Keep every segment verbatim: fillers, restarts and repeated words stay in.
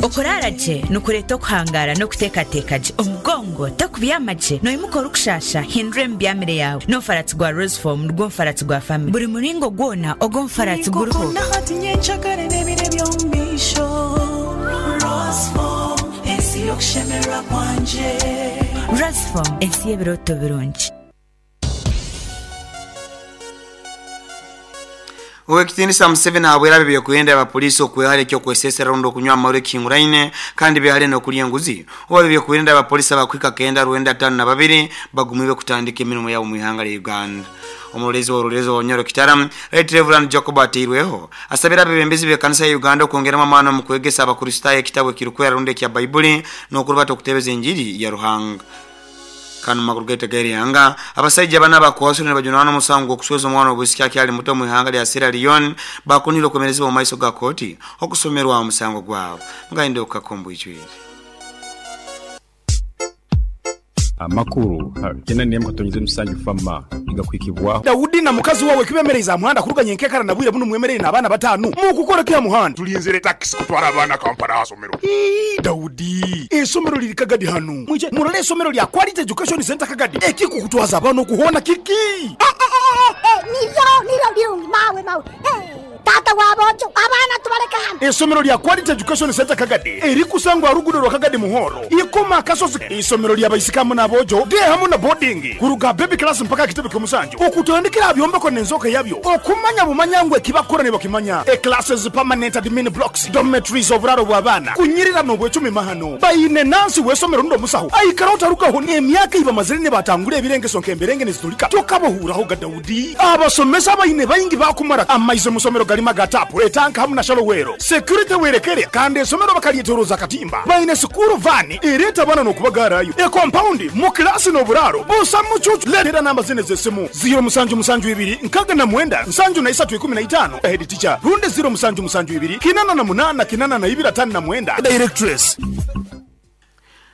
Okurara gye nukureeta okuhangara n'okuteekateeka gye omugongo tokubyama gye noimuka orikushasha hindura emibyamire yawe n'omufaratsi gwa Roseform nigwo mufaratsi gwa family buri muringo gwona ogwo omufaratsi guriho. Roseform ensi y'ebiroto birungi. Owekitinisa Museveni ahabwera byokwenda abapolisi okwehale kyo kwesesera rundo kunywa amaure kinguraine kandi behale no kulya enguzi. Owa byokwenda abapolisi abakwika kenda rwenda tano na babiri bagumiwe kutandika emirimo yabo mu ihanga lya Uganda. Omulezi wa Rulezo wa Nyoro Kitaram, Right Reverend Jacob Ateirweho, asabira abebembezi be kanisa ya Uganda okwongeramo amaani mu kwegesa abakristaayo ekitabo ekirukwera rundi ekya Baibuli n'okurubata okutebeza enjiri ya Ruhanga. Kanu maguru gaita yanga abasajja bana bakwasura ne bajunana omusango okusweza omwana obusiki akyali muto mu ihanga lya Sierra Leone bakunira okumerezebwa mu maiso ga kooti okusomerwa omusango gwabo ngainde okukakombo icwire. Amakuru kena nemu katonyize musanju fama igakwikibwa Daudi na mukazi wawe kibemereza muhanda kuruganya enkekara na bwire buno mwemerere na abana batanu mukukora kya muhanda tulinzire taxi kutwara abana Kampala asomero. Ii Daudi esomero liri Kagadi hanu mwije murole esomero lya Quality Education Center Kagadi ekikukutwaza abana okuhona kiki niryo niryo birungi mawe mawe tata wabojo abana tubaleka hano. Esomero lya Quality Education Center Kagadi erikusangwa rugudo rwa Kagadi Muhoro ikoma kasozi. Isomero lya baisikamu nabojo de hamu na boarding kuruga baby class mpaka kitebe kyomusanju okutandikira byombeko nenzoka yabyo okumanya bumanyangwe kibakora ne bakimanya e classes permanent admin blocks dormitories oburaro bw'abana kunyirira no bwecumi mahano bayine nansi wesomero ndo musaho aikara utarukaho emyaka iba mazire ne batangure ebirengeso nkemberenge nezitulika tokabohuraho ga Daudi abasomesa bayine bayingi bakumara amaizo musomero galima gatapu etanka hamu na shalowero security werekere kandi esomero bakalietoroza katimba bayine sukuru vani ereta bana nokubagarayo e compound mu class no buraro busa muchuchu letera namba zine zesimu zero musanju musanju ibiri nkaga na mwenda nsanju na isatu ikumi na itano head teacher runde zero musanju musanju ibiri kinana na munana kinana na ibira tano na mwenda directress.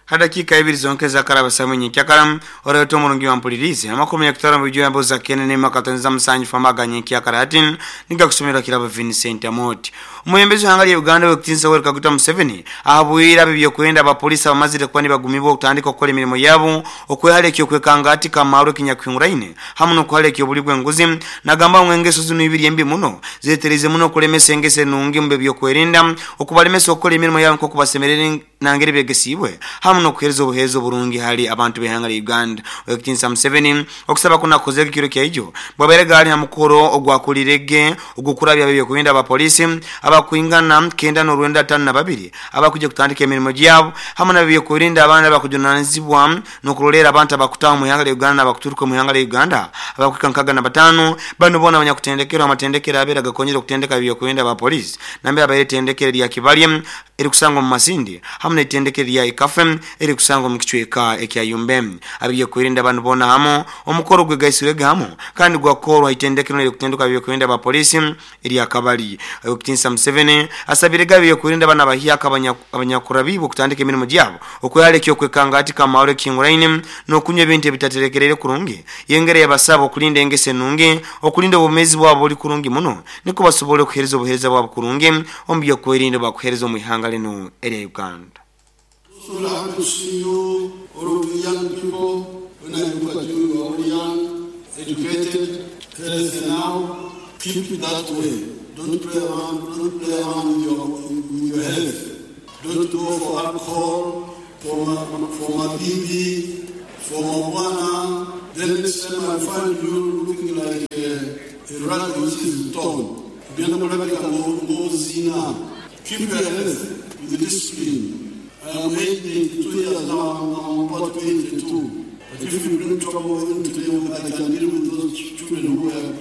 Hadakika ibiri zonke za karaba samunyi kyakaram oreto murungi wa mpulirizi amakumi ya kutara mu bijyo za kene ne makatonza musanju famaganye kyakaratin niga kusomera kiraba Vincent Amoti. Umuyembezi hanga ya Uganda wekitinsa Yoweri Kaguta Museveni ahabwira bibyo kwenda abapolisi abamazire kwani bagumibwa okutandika okukola emirimo yabo okwehale ekyo kwekangati kamaro kinyakwinguraine hamu nokuhale ekyo buligwe nguzi nagamba mwengeso zino ibiri embi muno zetereze muno kulemesa engese nungi mu byo kwerinda okubalemesa okukola emirimo yabo nko kubasemerere nangeri begesibwe hamu nokuhereza obuhezo burungi hali abantu behanga la Uganda. Wekitinsa Museveni okusaba kuna kozeka kiro kya ijo bwaberega ali hamukoro ogwakulirege ogukurabya bibyo kwenda abapolisi abakuingana kenda no rwenda tano na babiri abakuje kutandika emirimo gyabo hamu na bibyo kurinda abana bakujunanizibwa nokulolera abantu abakutaho mu ihanga la Uganda abakuturuka mu ihanga la Uganda abakwika nkaga na batano bano bona abanyakutendekerwa amatendekero abera gakonyera okutendeka bibyo kurinda abapolisi nambe abaretendekero lya Kibalye eri kusangwa mu Masindi hamu n'etendekero lya Ikafe eri kusangwa mu kichweka ekya Yumbe abiye kurinda abantu bona hamo omukoro gwe gaisirega hamo kandi gwakorwa itendekero eri kutenduka bibyo kurinda abapolisi eri akabali. Okitinsa Museveni asabirega bibyo kurinda bana bahiaka abanyakurabibo kutandika emirimo gyabo okwehale kyo kwekanga ati kamaro kinguraine nokunywa ebintu ebitaterekerere kurungi yengere yabasaba okulinda engese nungi okulinda obumezi bwabo buli kurungi muno niko basobole okuhereza obuhereza bwabo kurungi ombyo kwerinda bakuhereza mu ihanga lino eri Uganda. So happy to see you, all of you young people. When I look at you, you are all young, educated, healthy now. Keep it that way. Don't play around, don't play around with your, with your health. Don't go for alcohol, for my, for my baby, for marijuana. Then next time I find you looking like a, a rat which is torn. Keep your health with discipline. I am eighty-two years now, I'm about eighty-two. But if you bring trouble in today, I can deal with those children who are...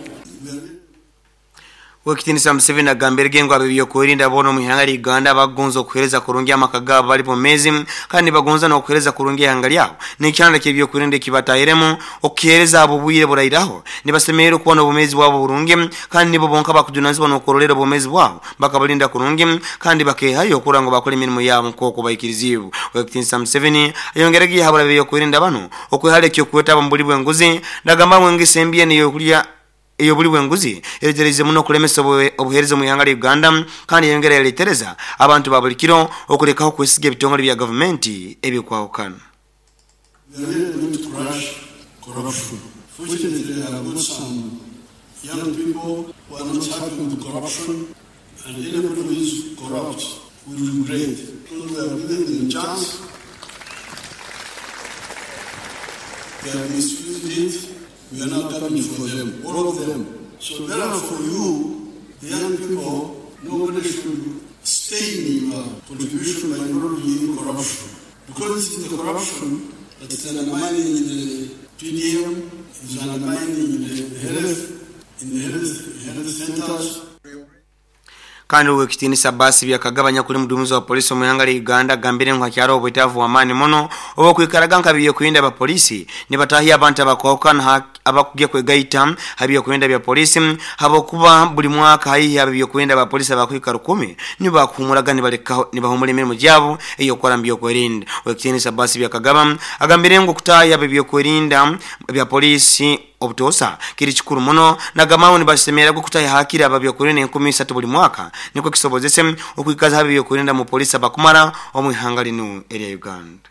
Wekitinisa Museveni agambirege ngo abibyo kurinda bono mu ihanga lya Uganda bagonza okuhereza kurungi amaka gabo bali pomezi kandi bagonza no okuhereza kurungi ihanga lyabo n'ikyanda kyebyo kurinda kibatahiremo okuhereza abo bwire burairaho nibasemerera kubona obumezi bwabo burungi kandi nibo bonka bakujunanizibwa no kurolera obumezi bwabo bakabalinda kurungi kandi bakehayo okurango bakora emirimo yabo nk'oku baikirizibu. Wekitinisa Museveni ayongerege yahabura bibyo kurinda bano okwehale kyo kwetaba mu buli bwenguzi nagamba mwengese embiye niyo kulya eyo buli bwenguzi eretereze muno kulemesa obuhereza mu ihanga lya Uganda kandi yongera yaletereza abantu ba buli kiro okulekaho kwesiga ebitongole bya gavumenti ebikwawukana. We are really going to crush corruption. Fortunately, I have got some young people who are not happy with corruption, and anybody who is corrupt will regret. Because we have given them chance, they have misused it, we are now coming for them, all of them. So therefore you, the young people, nobody should stain your contribution by involving in corruption. Because it is the corruption that is undermining the P D M, is undermining the health, in the health, health centers. Kandi wekitiinisa basi byakagabanya kuli mudumizi wa polisi mu ihanga lya Uganda gambire ngu hakyaro obwetaavu w'amaani muno obwokwikaraga nka byokwerinda ba polisi nibatahya abantu abakwawukana abakugya kwegaita habyokwerinda bya polisi habokuba buli mwaka haihi abyokwerinda ba polisi abakwika rukumi nibakuhumuraga nibalekaho nibahumura emirimu gyabo ey'okukora mu byokwerinda. Wekitiinisa basi byakagaba agambire ngu kutahya abyokwerinda bya polisi obutosa kiri kikuru muno nagamawo nibasemera kutaya hakira ababyokwerinda enkumi isatu buli mwaka niko kisobozese okwikaza ababyokwerinda mu polisi abakumara omu ihanga lino erya Uganda.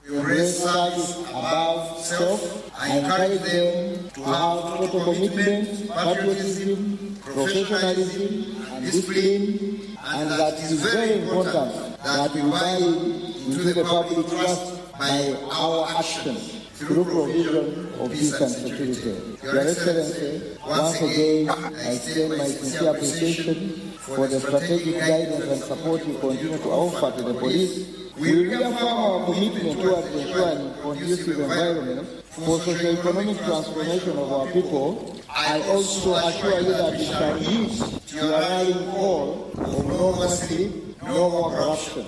We service above self. I encourage them to have total commitment, patriotism, professionalism, and discipline, and that it is very important that we buy into the public trust by our actions through provision of peace and security. Your Excellency, once again, I extend my sincere appreciation for the strategic guidance and support you continue to offer to the police. We reaffirm our commitment towards ensuring conducive environment for socio-economic transformation of our people. I also assure you that we shall heed to your rallying call of no more sleep, no more corruption.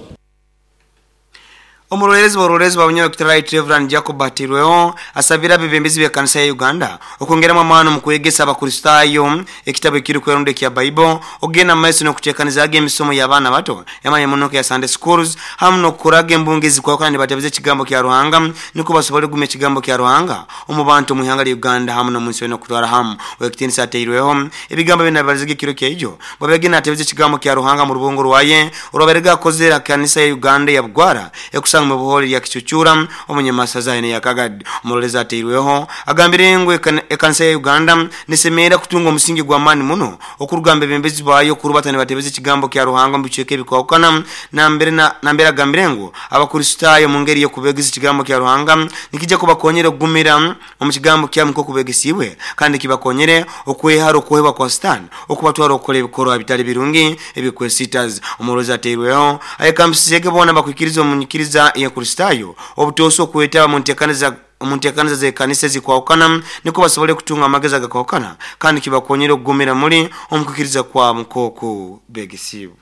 Omulolezi wa bunyawe Right Reverend Jacob Batirweo asabira bebembezi bya kanisa ya Uganda okwongeramu amaani mu kwegesa abakristaayo ekitabo ekiri kweronda kya Bible ogenda mu maiso n'okuteekaniza emisomo y'abaana bato yamanye muno ya Sunday schools hamu n'okukuraga embungezi kwakana nibatebeza ekigambo kya Ruhanga niko basobole kugumya ekigambo kya Ruhanga omu bantu mu ihanga lya Uganda hamu n'omunsi yona okutwara hamu. Wekitiinisa ateirweho ebigambo byona bibaliziga ekiro kyaijo bwabegenda atebeza ekigambo kya Ruhanga mu rubungo rwaye olwaberega akozera kanisa ya Uganda ya Bugwara ekusa mu buholi ya kichuchura omunyamasaza ene yakagad. Omuloleza ateirweho agambire ngu ekanisa ya Uganda nisemera kutunga omusingi gwa maani muno okurugamba ebembezi bayo kurubatana batebeza ekigambo kya Ruhanga mu bicweka ebikwawukana nambere na nambere agambire ngu abakristaayo mu ngeri y'okubegesa ekigambo kya Ruhanga nikijja kubakonyera okugumira omu kigambo kya mukoko kubegesibwe kandi kibakonyere okwehara okuhebwa kwa Sitaani okubatwara okukola ebikorwa bitali birungi ebikwesitaza. Omuloleza ateirweho ayekambisizege bona bakwikiriza omunyikiriza ya Kristayo obutoso okwetaba mu nteekaniza mu nteekaniza z'ekanisa ezikwawukana niko basobole kutunga amagezi agakwawukana kandi kibakonyera okugumira muri omukukiriza kwa mukoko begesibwe.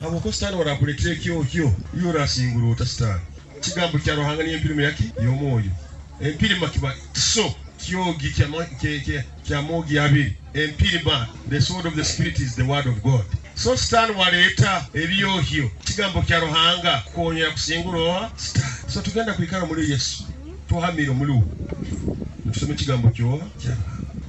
Aboko Sitaani warakuletera ekyohyo iyo orasingura ota Sitaani kigambo kya Ruhanga niyo empirima yaki y'omwoyo empirima kiba so kyogi kya mogi abiri empirima, the sword of the spirit is the word of God. So Sitaani waleeta ebyohyo kigambo kya Ruhanga kukonyera kusingura oha Sitaani. So tugenda kwikara muri Yesu tuhamire muri we tusome kigambo kyoha kya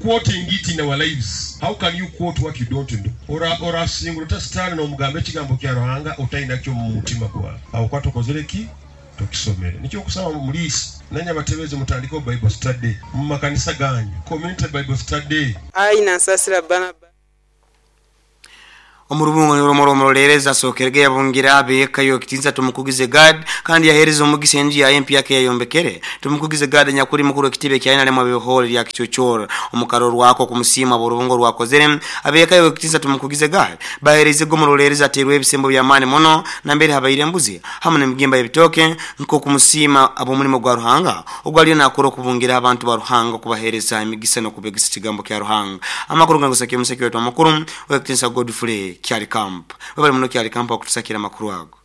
quoting it in our lives. How can you quote what you don't know? Ora ora singura ta Sitaani n'omugamba ekigambo kya Ruhanga otalina kyo mu mutima gwawe awo kwatokozere ki tokisomere. Nikyo okusaba mulisi nanya batebeze mutandike Bible study mu makanisa ganyu, community Bible study. Ayi nansasira bana. Omurubungo ni omuloleleza sokerege yabungira abeka yo kitinza tumukugize God kandi yahereza omugisa enju ya M P yake yayombekere tumukugize God nyakuri mukuru ekitibe kya nalema bihole lya kichochoro omukaro rwako kumusima burubungo rwakozere abeka yo kitinza tumukugize God bahereze gomuloleleza aterwe ebisembo bya mani muno na mbere habaire mbuzi hamwe n'emigimba y'ebitoke nko kumusima abo mulimo gwa Ruhanga ogwaliyo nakoro kubungira abantu ba Ruhanga kubahereza emigisa no kubegisa kigambo kya Ruhanga. Amakuru gangusakiye musaki wetu amakuru wekitinza Godfrey Kyali Camp. Wabali muno Kyali Camp okutusakira makuru ago.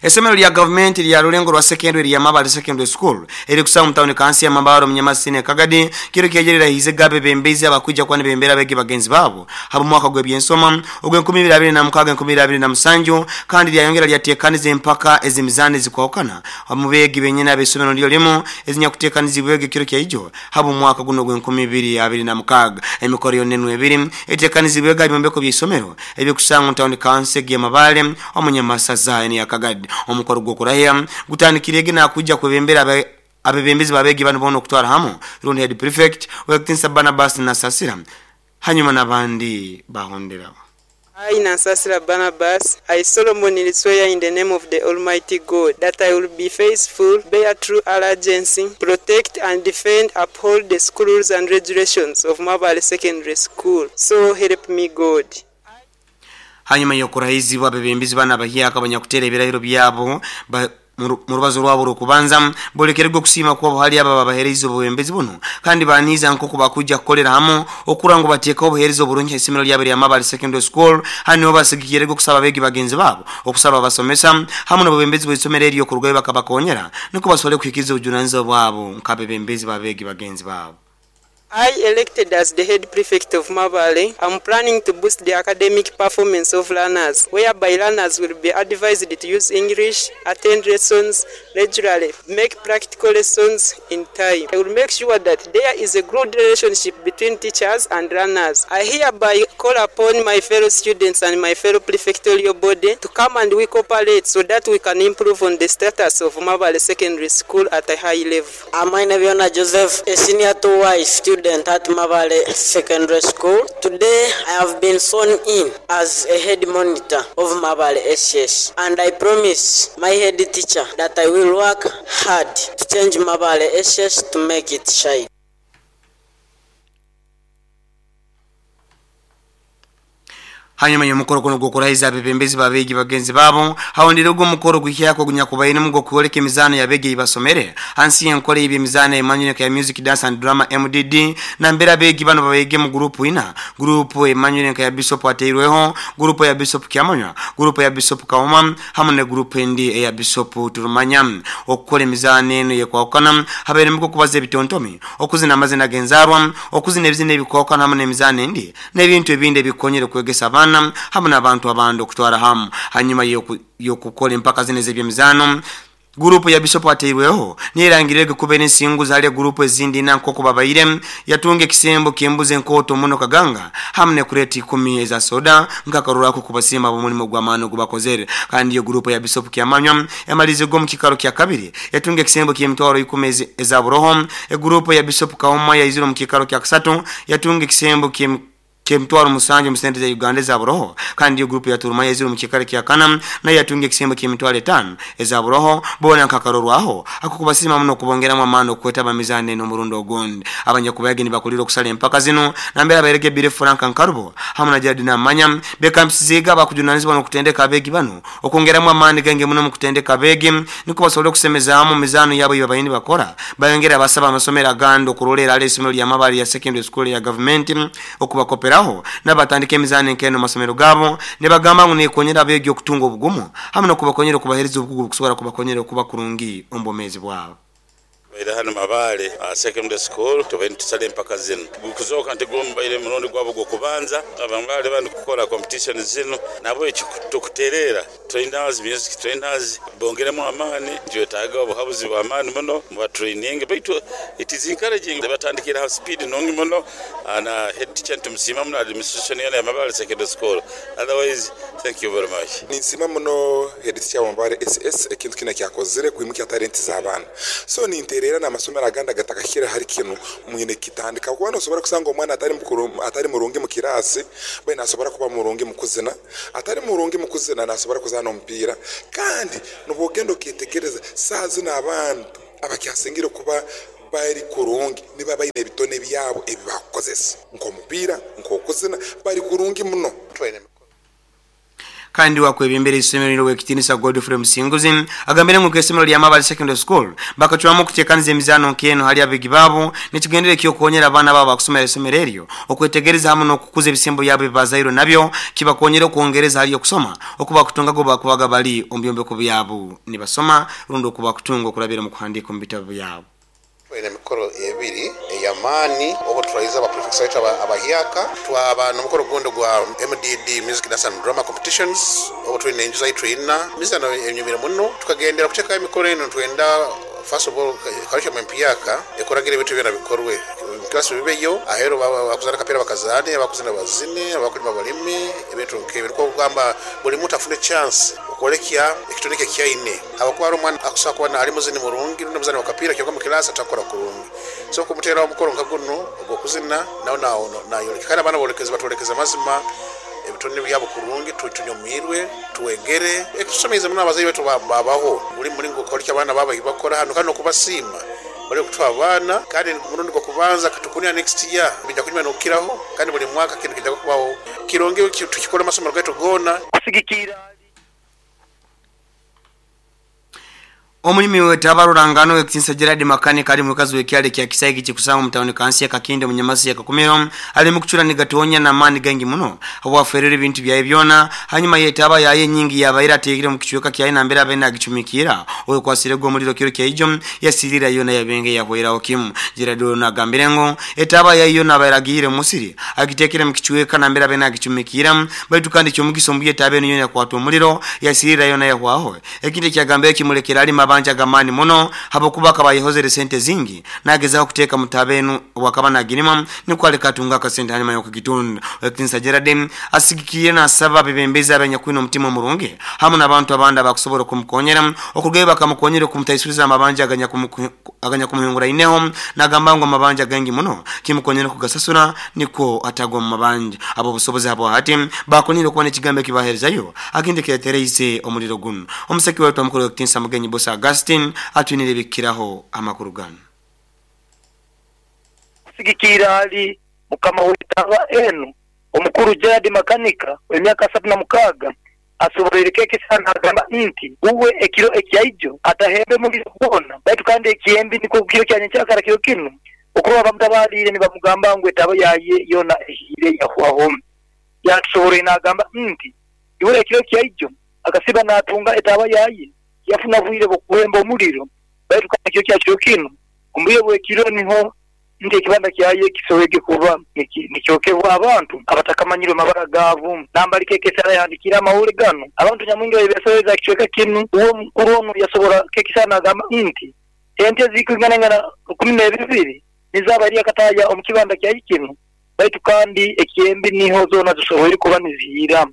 Esomero lya gavumenti lya Rulengo rwa secondary ya Mabale Secondary School eri kusanga mu town kansi ya Mabaro Munyamasine Kagadi kiro kyejerera hize gabe bembezi abakuja kwani bembera bege bagenzi babo habo mwaka gwe byensoma ogwe nkumi bibiri abiri na mukaga nkumi bibiri abiri na musanju kandi lyayongera lyatekaniza empaka ezimizane zikwawukana mu begi benyene abesomero ndyo limu ezinya kutekanizibwege kiro kya habo mwaka guno gwe nkumi bibiri abiri na mukaga emikoro yonenwe ebiri etekanizibwege ebyombeko by'isomero ebyokusanga mu town kansi ya Mabale omunyamasaza ya Kagadi. Omukoro gwokurahia gutandikirege na kuja kwebembera abebembezi babegi bano bono kutwara hamu rundi head prefect wekitinsa Barnabas na Sasira hanyuma nabandi bahondera. I, Nansasira Barnabas, I solemnly swear in the name of the Almighty God that I will be faithful, bear true allegiance, protect and defend, uphold the school rules and regulations of Mabale Secondary School. So help me God. Hanyuma yokurahizibwa abebembezi bana bahiaka abanyakutera ebirahiro byabo mu rubazo rwabo rukubanza bolekererwa kusima kwa hali aba babahereza obubembezi buno kandi baniza nko kubakuja kukolera hamo okurango bateka obuhereza oburungi isomero lyabere ya Mabale Secondary School hano basigikirego kusaba begi bagenzi babo okusaba basomesa hamwe n'obubembezi bw'isomero eryo kurugayo bakabakonyera niko basole kuhikiza obujunanizibwa bwabo nk'abebembezi babegi bagenzi babo. I, elected as the head prefect of Mabale, am planning to boost the academic performance of learners, whereby learners will be advised to use English, attend lessons regularly, make practical lessons in time. I will make sure that there is a good relationship between teachers and learners. I hereby call upon my fellow students and my fellow prefectorial body to come and we cooperate so that we can improve on the status of Mabale Secondary School at a high level. I'm Ainaviona Joseph, a senior two Y student at Mabale Secondary School. Today I have been sworn in as a head monitor of Mabale S S, and I promise my head teacher that I will work hard to change Mabale S S to make it shine. Hanyuma y'omukoro kuno gw'okurahiza abebembezi babegi bagenzi babo hawondere ogwo omukoro guhyako gunyakubaine mugo kuoleka emizano yabegi basomere hansi y'enkola y'emizano emanyire ya music dance and drama M D D na mbera abegi bano babege mu group ina group emanyire ya Bishop Ateirweho, group ya Bishop Kiamanywa, group ya Bishop Kauma hamwe ne group endi ya Bishop Turumanya. Okukola emizano eno yekwawukana habaire mugo kubaza ebitontomi okuzina amazina genzarwa okuzina ebizina ebikwawukana hamwe n'emizano endi n'ebintu ebindi ebikonyere kwegesa abaana hamwe n'abantu abandi okutwara hamu. Hanyuma yokukola empaka zino ez'ebyemizano gurupu ya Bishop Ateirweho nirangirege kubera ensingu zali gurupu ezindi nankoko babaire yatunga ekisembo kyembuze enkoto muno kaganga hamwe ne kureti ikumi eza soda nkakarurako kubasima bomulimo gw'amaani gubakozere. Kandi iyo gurupu ya Bishop Kiamanywa yamalize go mu kikaro kya kabiri yatunga ekisembo ky'emitwaro ikumi eza buroho. Egurupu ya Bishop Kauma yaizire mu kikaro kya kasatu yatunga ekisembo ky'em kemtwaro musanju musente za Uganda za buroho. Kandi iyo grupu ya Turumanya iziro mu kikare kya kana na yatunga ekisembo ky'emitwaro etano eza buroho bona nkakarorwaho akukubasima muno kubongeramo amano kwetaba mizane no murundo ogundi. Abanyakubayage nibakulira okusala empaka zino nambera abaerege Bire Frank Nkarubo hamwe na Jared Namanya bekampisiga bakujunanizibwa no kutendeka abegi bano okongeramo amani genge muno mu kutendeka abegi niko basobole okusemezaamu mizano yabo yabayini bakora bayongera abasaba amasomero agandi okurolera ale isomero lya Mabale ya secondary school ya government okubakoperaho nabatandika emizano enkeno masomero gabo nebagamba ngu nekonyera abegi okutunga obugumu hamwe nokubakonyera okubahereza obukugu kusobora kubakonyera okuba kurungi ombomezi bwabo. Baire hano Mabale secondary school tubeni tusale mpaka zino kuzoka nti gombaire murundi gwabo gwokubanza abamale bandi kukola competition zino nabo ekitukuterera trainers music trainers bongeremu amaani twetaaga obuhabuzi bwa amaani muno mu training baitu it is encouraging batandikira ha speed nongi muno na head teacher ntumusima muno administration ya Mabale secondary school. Otherwise thank you very much. Ninsima muno head teacher wa Mabale S S ekintu kina kyakozire kwimukia talent z'abaana so ninterera n'amasomero aganda gatakakira hari kintu mwine kitandika kuba nosobora kusanga omwana atari mukuru atari murungi mu kirasi bae nasobora kuba murungi mu kuzina atari murungi mu kuzina nasobora kuzana omupiira kandi nubwogenda okitegereza saa zino abantu abakyasingire kuba bari kurungi niba bayine ebitone byabo ebibakozesa nk'omupiira nk'okuzina bari kurungi muno. Kandi wakwebembera isomero lino wekitinisa Godfrey Musinguzi agambire ngu kesomero lya Mabale Secondary School bakacwamu kutekaniza emizano nkeno hali abegi babo nekigendere kyokonyera abana babo akusomera isomero eryo okwetegereza hamwe n'okukuza ebisembo byabo bazairo nabyo kibakonyera okwongereza hali okusoma okuba kutunga go bakubaga bali ombyombeko byabo nibasoma rundo okuba kutunga okulabira mu kuhandika mu bitabo byabo. Ene mikoro ebiri eyamaani obo turaiza aba prefects baitu abahyaka twaba n'omukoro gundi gwa M D D Music Dance and Drama Competitions obo twine enju zaitu ina mizano enyumire muno tukagendera kuteekayo emikoro eno twenda first of all curriculum empyaka ekoragira ebintu byona bikorwe class bibeyo ahero bakuzana kapera bakazane abakuzana bazine abakulima balime ebintu nkebyo kugamba buli muntu afune chance okolekya ekitoneke kyaine abakwara omwana akusaba kuba ali muzini murungi rundi muzani wakapira kyonka mu class atakora kurungi so kumutera omukoro nka guno ogwokuzina nawo nawo nayoleka kandi abana bolekeza batolekeza mazima ebitone byabo kurungi tutunyumirwe tuwegere ekusomeza muno abazayi betu babaho buli mulingo kolekya abana baba ibakora hano kandi okubasiima bali kutwa abana kandi murundi gwo kubanza katukunia next year bijja kunyuma nokiraho kandi buli mwaka kintu kijja kubaho kironge tukikora amasomero gaitu gona kusigikira. Omulimi wetabarurangano wekitinsa Gerard Makanika ali mukazi wekyale kya Kisaigi kikusanga mutawuni kansi ya Kakinde munyamasi ya Kakumiro ali mukuchura nigatonya na mani gangi muno awaferere ebintu byaye byona hanyuma yetaba yaye nyingi yabaira tegire mu kichweka kyaye na mbera bena agichumikira oyo kwasire go muliro kiro kyaijo yasirira yona yabenge yahweraho kimu. Gerard nagambire ngo etaba yayo nabairagire musiri agitekere mu kichweka na mbera bena agichumikira baitu kandi cyo mugiso mbuye tabe niyo yakwata omuliro yasirira yona yahwaho ekindi kyagambye kimulekera ali mabanja gamani muno habokuba kabayihozere sente zingi nagezaho kuteka mutabenu wakaba nagirima niko alikatunga kasente hanyuma yokugitunda. Wekitinsa Gerard asigikiye nasaba bebembeza abanyakwino mutima murungi hamwe n'abantu abandi abakusobola kumukonyera okugeba bakamukonyera kumutaisuriza amabanja aganya aganya kumuhungura ineho nagamba ngo amabanja gangi muno kimukonyera kugasasura niko atagwa mu mabanja abo busobozi abo hati bakonire kubona ekigambo kibaherezayo akindi kiretereize omuliro guno. Omuseki wetu amukuru Wekitinsa Mugenyi Bosa Augustine atwinire bikiraho amakuru gano kusigikira ali mukama wetaba enu omukuru Gerard Makanika w'emyaka asatu na mukaga asoborereke sana agamba nti uwe ekiro ekyaijo atahembe muliro gwona baitu kandi ekiyembi niko kiro kyanye kyakara kiro kino okuba bamutabalire nibamugamba ngu etaba yaye yona ehire yahwaho yatusoborere nagamba nti iwe ekiro kyaijo akasiba natunga etaba yaye yafuna bwire bokuhemba omuliro baitu kandi kyo kyakiro kino ombuye bwekiro niho nti ekibanda kyaye kisoboke kuba nikyokebwa abantu abatakamanyirwe mabara gavu nambali kekesara yandikira amawule gano abantu nyamwingi babesoreza kichweka kinu uwo mukuru ono yasobora kekisana agamba nti ente zikwingana kumi na bibiri nizaba ari akataya omukibanda kyaye kinu baitu kandi ekiyembi niho zona zisoboire kuba nizihira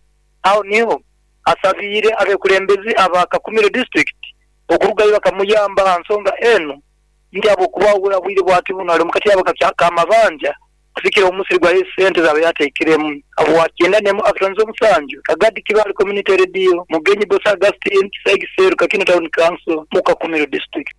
aho niho asabire abekulembezi aba Kakumiro district okurugayo bakamuyamba nsonga eno ndi abo kuba bwire bwati buno ali mukati yabo kamabanja kusikira omusiri gwa sente zabe yateekiremu abo wakyenda nemu Afrians omusanju Kagadi Kibali Community Radio Mugenyi Bosa Augustine Kisaigi Seru Kakino Town Council mu Kakumiro district.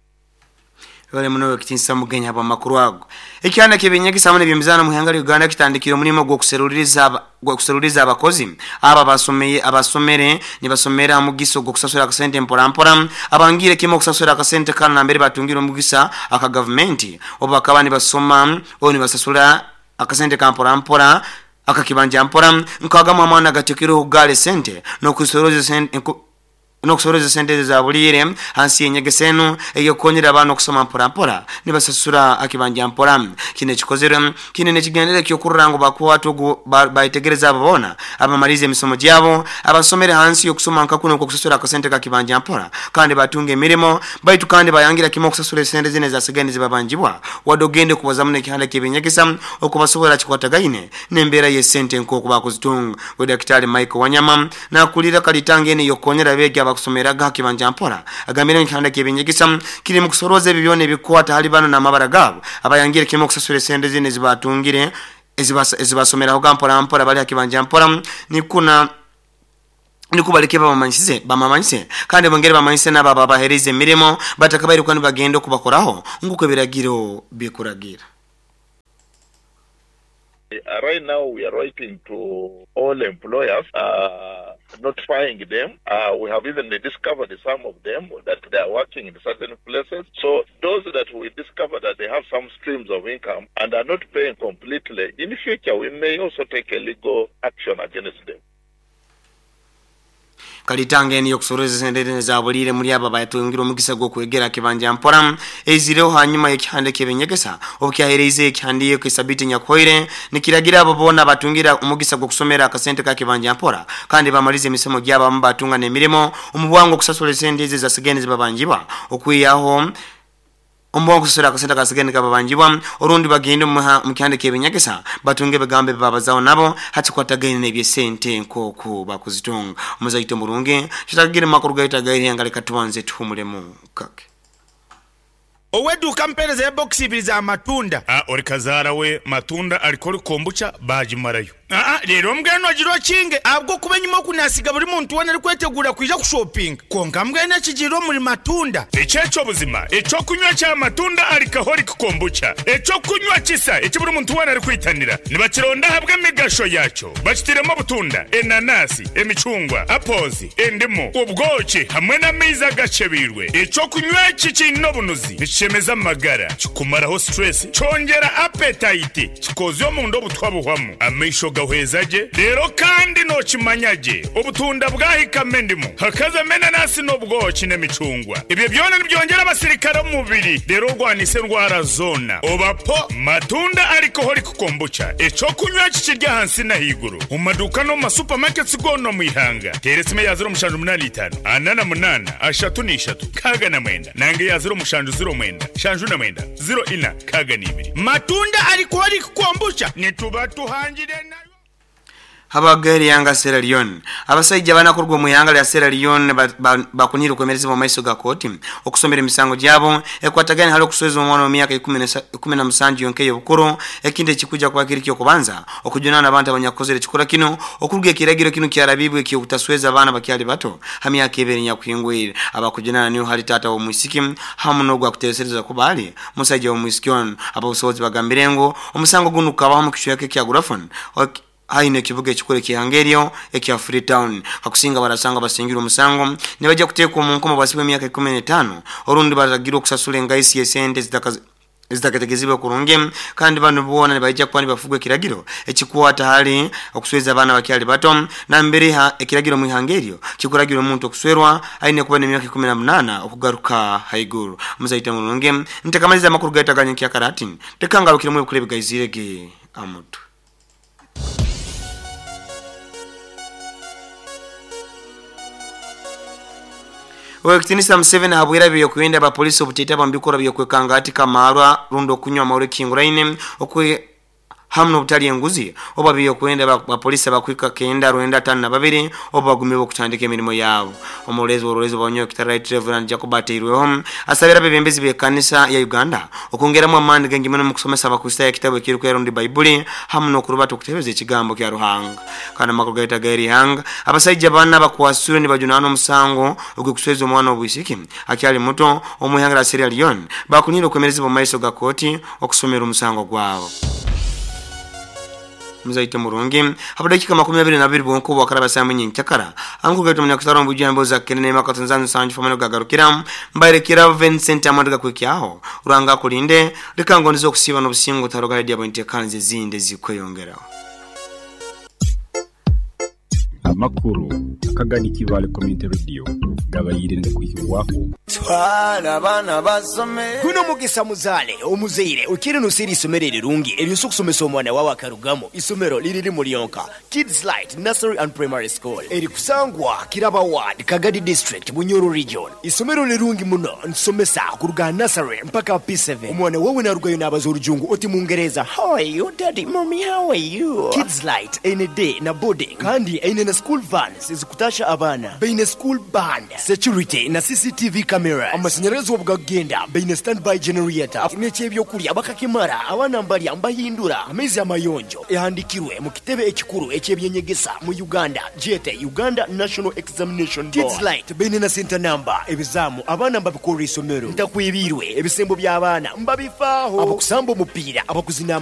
Wale muno wekitinsa Mugenyi abo makuru ago ekyana kebinyegisa hamwe n'ebyemizano mu ihanga lya Uganda kitandikira omulimo gw'okuseruliriza gw'okuseruliriza abakozi aba basomeye abasomere nibasomera mugiso gw'okusasura akasente mpora mpora abangire kimo okusasura akasente kana nambere batungira omugisa aka government oba bakaba nibasoma o nibasasura akasente ka mpora mpora akakibanja mpora nkagama amwana gatekero gale sente n'okusoroza sente nokusoroza sente za bulire hansi yenyegesenu eyokonyera abantu okusoma mpora mpora nibasasura akibanja mpora kine kikozere kine nekigendere kyokurrango bakwatu bayitegereza ababona abamalize emisomo gyabo abasomere hansi yokusoma nkakuno okusasura akasente ka kibanja mpora kandi batunge emirimo baitu kandi bayangira kimo okusasura sente zine zasigende zibabanjibwa wadogende kubazamu nekihanda kebinyegesa okubasobola kikwatagaine nembeera ye sente nkoku bakuzitunga we Daktari Michael Wanyama nakulira kalitangene yokonyera bege abakusomeraga kibanja mpora agambire nkihanda kebinyegesa kiri mu kusoroza ebibyone ebikwata hali bano n'amabara gabo abayangire kimo okusasura sente zine zibatungire ezibasomeraho gampora mpora bali akibanja mpora nikuna nikubaleke bamamanyisize bamamanyise kandi bongere bamanyise n'aba babahereze emirimo batakabaire kwani bagenda okubakoraho nguko ebiragiro bikuragira. Uh, right now we are writing to all employers uh, notifying them. Uh, we have even discovered some of them that they are working in certain places. So those that we discover that they have some streams of income and are not paying completely, in the future we may also take a legal action against them. Kalitanga eni yokusoreza sendere za bulire muri aba bayatungira omugisa gwo kwegera kibanja mpora ezireho hanyuma y'ekihande kebenyegesa obukyahereze ekihandiye ku sabiti nyakoire nikiragira abo bona batungira omugisa gwo kusomera akasente ka kibanja mpora kandi bamalize emisomo gyaba batunga n'emirimo omubwango kusasula sente za sigeni zibabanjibwa okwiyaho omubwango kusasula akasente ka sigeni kababanjibwa orundi bagende mu kihande kebenyegesa batunge begambe babazao nabo hachikwatagene n'ebyesente nkoku bakuzitunga omuzaito murungi kitagire makuru gaita gairi angaleka tuwanze tuhumulemu kake Oweduka mpereza ya box ibiri za matunda. Ah, ori kazara we matunda alikori kombucha bajimarayo. Ah, rero mbweno agirwa kinge abwo kuba nyuma kunasiga buri muntu wena ari kwetegura kwija kushopping. Konka mbwene kigiro muri matunda. Echecho buzima, echo kunywa cha matunda alcoholic kombucha. Echo kunywa kisa eki buri muntu wena ari kwitanira. Nibakironda habwe migasho yacho. Bakitiremo butunda, enanasi, emicungwa, apples, endimu, ubwoki hamwe n'amaizi agacebirwe. Echo kunywa iki kino bunuzi. Chemeza magara kikumaraho stress chongera appetite kikozyo mundo butwabuhwamu amaisho gahwezaje rero kandi no kimanyaje obutunda bwahika mendimu hakaza menanasi n'obwoki n'emicungwa ibyo byona nibyongera abasirikare mu mubiri rero rwanise ndwara zona obapo matunda alcoholic kombucha eco kunywa kikirya hansi na higuru mu maduka no mu supermarkets gono mu ihanga teresime ya zero mushanju munani itanu anana munana ashatu n'ishatu kaga na mwenda nange ya zero mushanju zero mwenda shanju na mwenda zero ina kaga n'ibiri matunda alcoholic kombucha nituba tuhangire na Habagari yanga Sierra Leone abasajja banakurwa mu yanga ya Sierra Leone bakunira kwemereza mu maiso ga koti okusomera emisango gyabo ekwatagana hali okusweza omwana wa myaka ikumi na musanju yonke yobukuru ekindi ekikuja kwa kirikyo kubanza okujunana abantu abanyakozere kikora kino okuruga ekiragiro kino kyarabibwe ekyo kutasweza abana bakyali bato ha myaka ebiri nyakuhingwire abakujunana niyo hali tata wa mwisiki hamu n'ogwa kutesereza kubali musajja wa mwisiki ono ababusobozi bagambire ngo omusango guno kukabaho mu kicweka kya Grafon haine kibuga ekikole kihangerio ekya Freetown hakusinga barasanga basingira omusango ne bajja kuteekwa mu nkomo basibwe emyaka ikumi n'etaano orundi baragirwa okusasula engaisi y'esente zitakategezibwa kurungi kandi bano bona ne bajja kuba nibafugwa ekiragiro ekikwata hali okusweza abaana bakyali bato na mbere ha ekiragiro mu ihangerio kikuragira omuntu okuswerwa aine kuba n'emyaka ikumi na munaana okugaruka haiguru muzaita mulungi ntekamaliza amakuru gaitaganya kya tekangarukiremu ebikule bigaizirege amutu. Owekitinisa Museveni habwira byo kuyenda ba polisi obuteta bambikora byo kwekanga ati kamarwa rundo kunywa maure kinguraine okwe hamno butali enguzi oba byo kuyenda ba polisi abakwika kenda rwenda tano na babiri oba bagumiwe kutandika emirimo yabo. Omulezi w'olwezo banyo kitara Reverend Jacob Ateirweho asabira bebembezi be kanisa ya Uganda okongeramu amaani gengimeno mu kusomesa abakristaayo ekitabo ekiri rundi Baibuli hamu n'okurubata okutebeza ekigambo kya Ruhanga. Kana makuru gaita gairi hanga abasajja bana bakwasure ni bajunana omusango ogw'okusweza omwana obwisiki akyali muto omuhanga la Sierra Leone bakunira okwemereza mu maiso ga kooti okusomera omusango gwabo. Muzaite murungi hapo dakika makumi abiri na bibiri bonko wakaraba saa mwenye nchakara angu gaito mnyakusaro mbujia mboza kenene maka Tanzania sanju famano gagarukira mbaire kira Vincent Amanduga kwikyaho uranga kulinde likango nizo kusiba no busingo taroga dia bonte kanze zinde zikweyongera. Amakuru akagani Kivale Community Radio gabayirinde kuyiwaho twala bana basome kuno mugisa muzale omuzeire ukiri nusiri isomero rirungi eryo kusomesa omwana wawe akarugamo isomero liriri mulionka Kids Light Nursery and Primary School eri kusangwa Kiraba Ward Kagadi District Bunyoro Region. Isomero lirungi muno nsomesa kuruga nursery mpaka P seven. Omwana wawe narugayo n'abaza orujungu oti mungereza how are you daddy mommy how are you. Kids Light any day na boarding kandi eine na school vans zikutasha abana beine school band security na C C T V cameras amashanyarazi obwagenda beine standby generator n'ekyebyokulya bakakimara abana mbalya mbahindura amaizi amayonjo ehandikirwe mu kitebe ekikuru ekyebyenyegesa mu Uganda jete Uganda National Examination Board. Kids Light beine na center number ebizamu abana mbabikora isomero ntakwibirwe ebisembo by'abaana mbabifaaho abakusamba omupiira abakuzina.